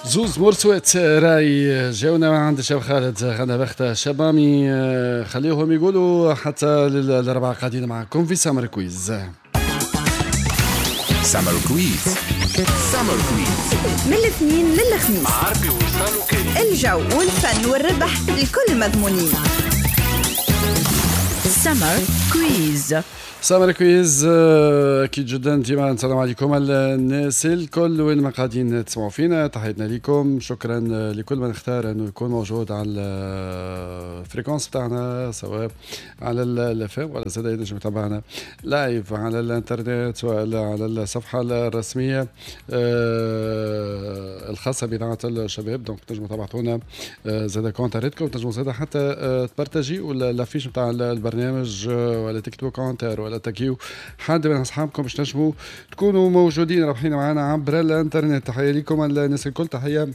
زوز مرسوات راي جاونا عند الشاب خالد غدا بخته شبامي، خليهم يقولوا حتى للأربعة قاعدين معكم في Summer Quiz. Summer Quiz، Summer Quiz من الاثنين للخميس، عربي وصال وكريم، الجو والفن والربح الكل مضمونين. Summer Quiz. Summer Quiz، اكيد جدا ديما نسلم عليكم الناس الكل وين ما قاعدين تسمعوا فينا، تحياتنا لكم، شكرا لكل من اختار انه يكون موجود على ال fréquence بتاعنا سواء على ال FM ولا زاد ينجم يتابعنا live على الانترنت ولا على الصفحة الرسمية الخاصة باذاعة الشباب. donc تنجموا تبعثونا زاد كونتاريتكم، تنجموا زاد حتى تبارتاجيو l'affiche نتاع البرنامج ولا تكتبوا commentaire ولا تاكيو حد من اصحابكم باش تنجموا تكونوا موجودين رابحين معنا عبر الانترنت. تحية لكم الناس الكل، تحية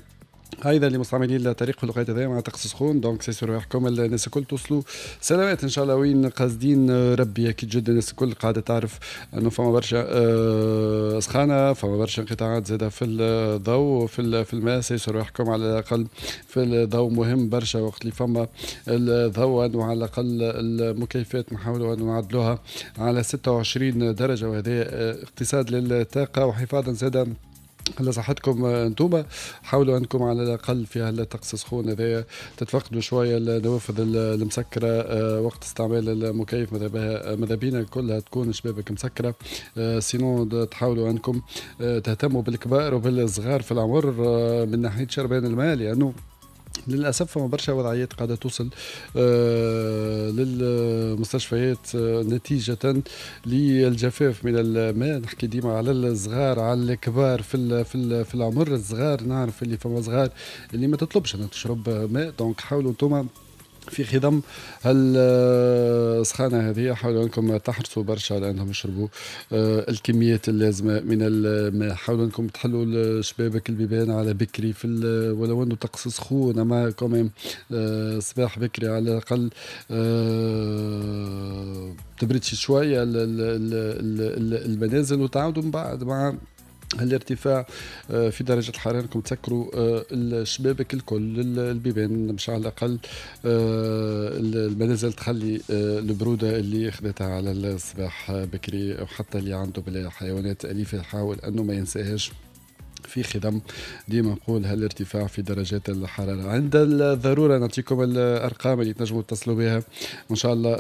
ايضا لمستعملين الطريق في الوقت هذا مع طقس سخون. donc سيسوا رواحكم الناس الكل توصلوا سلامات ان شاء الله وين قاصدين ربي. اكيد جدا الناس الكل قاعدة تعرف انه فما برشا سخانه، فما برشا انقطاعات زاده في الضوء في الماء. سيسوا رواحكم على الاقل في الضوء، مهم برشا وقت اللي فما الضوء انه على الاقل المكيفات نحاولوا انه نعدلوها على 26 درجه، وهذا اقتصاد للطاقة وحفاظا زاده على صحتكم انتوما. حاولوا انكم على الاقل في هالطقس السخون هذايا تتفقدوا شوية النوافذ المسكره وقت استعمال المكيف، ماذا بينا كلها تكون شبابك مسكره، sinon تحاولوا انكم تهتموا بالكبار وبالصغار في العمر من ناحية شربان الماء، لانه للاسف فما برشا وضعيات قاعدة توصل للمستشفيات نتيجة للجفاف من الماء. نحكي ديما على الصغار على الكبار في في في العمر الصغار، نعرف اللي فما صغار اللي ما تطلبش انها تشرب ماء. donc حاولوا انتم في خضم السخانة هذه حاولوا انكم تحرصوا برشا على انهم يشربوا الكميات اللازمة من الماء. حاولوا انكم تحلوا الشبابك البيبان على بكري في ولو انه طقس سخون، اما quand même صباح بكري على الاقل تبرد شوية المنازل، وتعاودوا من بعد مع الارتفاع في درجة الحرارة انكم تسكروا الشبابك الكل البيبان باش على الأقل المنازل تخلي البرودة اللي خذتها على الصباح بكري. وحتى اللي عنده بلا حيوانات أليفة يحاول أنه ما ينساهاش في خدم. ديما نقول هالارتفاع في درجات الحرارة عند الضرورة. نعطيكم الأرقام اللي تنجموا تتصلوا بها وإن شاء الله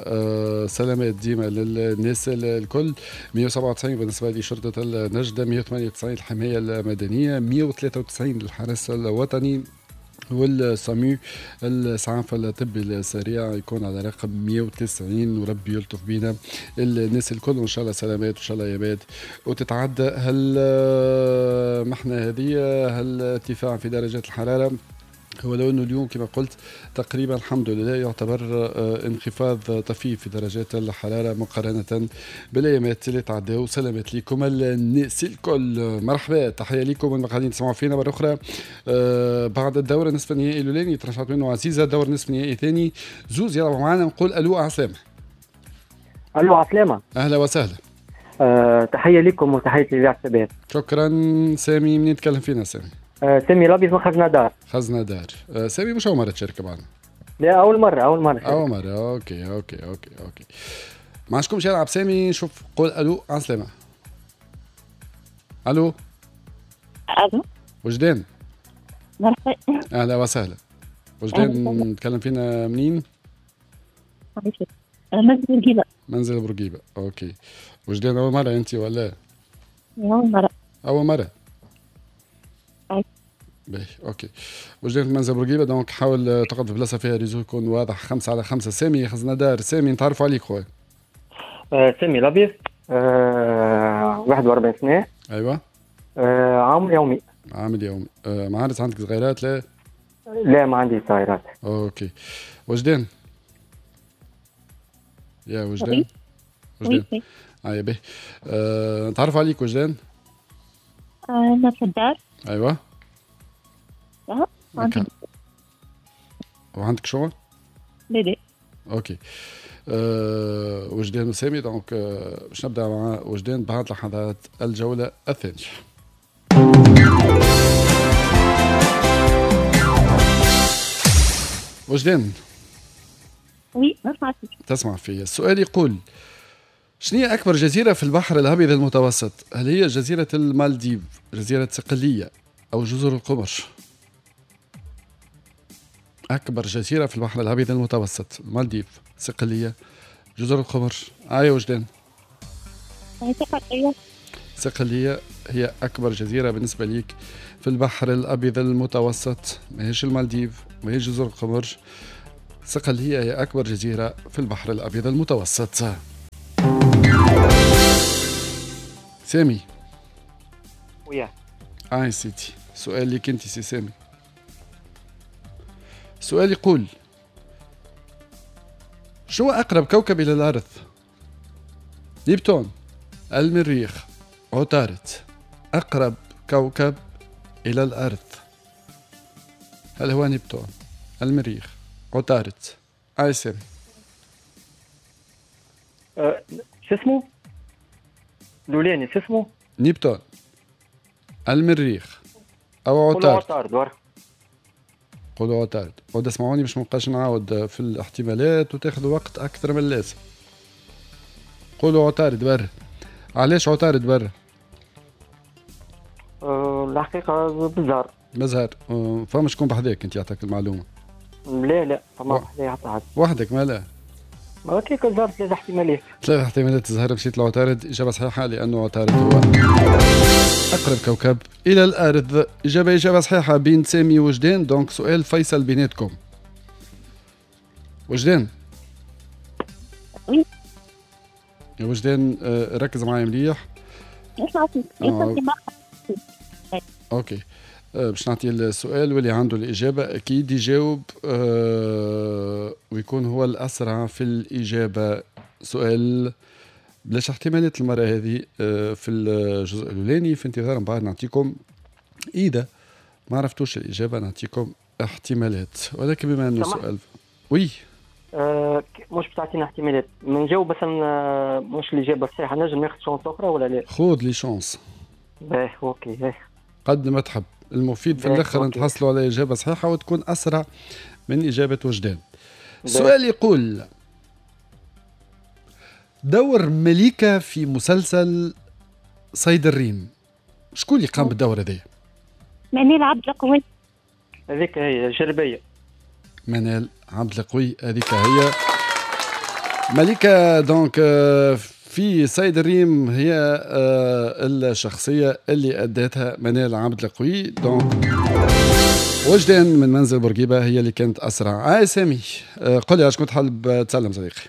سلامات ديما للناس الكل. 197 بالنسبة لشرطة النجدة، 198 الحماية المدنية، 193 للحرس الوطني وال SAMU الإسعاف الطبي السريع يكون على رقم 190. وربي يلطف بينا الناس الكل وان شاء الله سلامات وان شاء الله يابات وتتعدى هالمحنه هذه هالارتفاع في درجات الحرارة. ولو انه اليوم كما قلت تقريبا الحمد لله يعتبر انخفاض طفيف في درجات الحرارة مقارنة بالايامات اللي تعداو. سلامات لكم الناس الكل، مرحبا، تحية لكم من قاعدين تسمعوا فينا مرة اخرى. بعد الدور النصف النهائي الاولاني ترشحت منه عزيزه، الدور النصف النهائي الثاني زوز يلعبوا معنا. نقول الو عسلامة. الو عسلامة، اهلا وسهلا. تحية لكم وتحية لاذاعة الشباب. شكرا سامي، منين تكلم فينا سامي؟ سامي الابيض من خزنة دار. خزنة دار. سامي مش أول مرة تشارك معنا؟ لا أول مرة، أول مرة. أول مرة، okay okay okay okay. ما عندكمش يلعب سامي، شوف قول ألو على السلامة. ألو. ألو. وجدان. مرحبا. أهلا وسهلا. وجدان تكلم فينا منين؟ منزل بورقيبة. منزل بورقيبة، okay. وجدان أول مرة أنت ولا؟ أول مرة. أول مرة. باهي okay. وجدان في منزل بورقيبة، donc حاول تقعد في بلاصة فيها réseau يكون واضح. 5 على 5. سامي خزنة دار، سامي نتعرفوا عليك خويا. سامي الابيض، 41 سنة. ايوه. عامل يومي. عامل يومي. معارس عندك صغيرات؟ لا لا ما عندي صغيرات. okay. وجدان، يا وجدان. وجدان ايا باهي. نتعرفوا عليك وجدان. انا في الدار. ايوه. عندي. وعندك شغل؟ لا لا. okay. وجدان وسامي، donc باش نبدا مع وجدان بعد لحظات الجولة الثانية. وجدان. oui نسمع فيك. تسمع فيا. السؤال يقول شنو هي أكبر جزيرة في البحر الأبيض المتوسط؟ هل هي جزيرة المالديف، جزيرة صقلية، أو جزر القمر؟ أكبر جزيرة في البحر الأبيض المتوسط، المالديف، صقلية، جزر القمر. آية وجدان. صقلية. صقلية هي أكبر جزيرة بالنسبة ليك في البحر الأبيض المتوسط، ماهيش المالديف، ماهيش جزر القمر. صقلية هي أكبر جزيرة في البحر الأبيض المتوسط. سامي. ويا. آي سيدي، سؤال ليك أنت سي سامي. سؤال يقول شو أقرب كوكب إلى الأرض؟ نبتون، المريخ، عطارد. أقرب كوكب إلى الأرض هل هو نبتون، المريخ، عطارد؟ آي سامي. شو اسمه؟ الأولاني شو اسمه؟ نبتون، المريخ، أو عطارد. عطارد. قولوا عطارد. عود اسمعوني باش ما نبقاش نعاود في الاحتمالات وتاخذوا وقت أكثر من اللازم. قولوا عطارد برا. علاش عطارد برا؟ الحقيقة بالزهر. بالزهر. فما شكون بحذاك أنت يعطيك المعلومة؟ لا لا، فما بحذايا حتى حد. وحدك ما لا؟ ما كيك الزهر ثلاث احتمالات. ثلاث احتمالات الزهر مشيت لعطارد. إجابة صحيحة لأنه عطارد هو أقرب كوكب إلى الأرض. إجابة صحيحة بين سامي وجدان. donc سؤال فيصل بيناتكم. وجدان. oui. يا وجدان ركز معايا مليح. نسمع فيك. OK. باش نعطي السؤال واللي عنده الإجابة أكيد يجاوب ويكون هو الأسرع في الإجابة. سؤال بلاش احتمالات المرة هذه في الجزء الأولاني، في انتظار من بعد نعطيكم إذا ما عرفتوش الإجابة نعطيكم احتمالات، ولكن بما أنه سؤال oui مش بتعطينا احتمالات نجاوب مثلا مش الإجابة الصحيحة، نجم ناخذ chance أخرى ولا لا؟ خذ les chances. باهي OK باهي. قد ما تحب، المفيد في الآخر نتحصلوا على إجابة صحيحة وتكون أسرع من إجابة وجدان. السؤال يقول دور مليكة في مسلسل صيد الريم، شكون اللي قام بالدور هذا؟ منال عبد القوي. هذيك هي جربية. منال عبد القوي هذيك هي مليكة. donc في صيد الريم هي الشخصية اللي أدتها منال عبد القوي. donc وجدان من منزل بورقيبة هي اللي كانت أسرع. سامي قل لي شكون تحب تسلم صديقي؟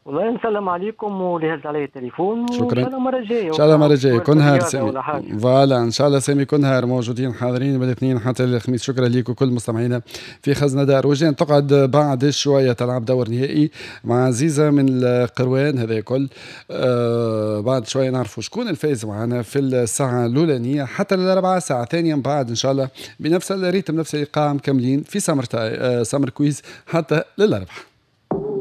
والله نسلم عليكم واللي هز علي التليفون. شكرا. ان شاء الله المرة الجاية. ان شاء الله المرة الجاية كل نهار سامي. voilà ان شاء الله سامي كل نهار موجودين حاضرين من الاثنين حتى الخميس. شكرا ليك وكل مستمعينا في خزنه دار. وجدان تقعد بعد شوية تلعب دور نهائي مع عزيزه من القروان. هذا الكل بعد شوية نعرفوا شكون الفائز معنا في الساعة الاولانية حتى للاربعه، ساعة ثانية من بعد ان شاء الله بنفس ال rythme نفس الايقاع مكملين في summer quiz حتى للاربعه.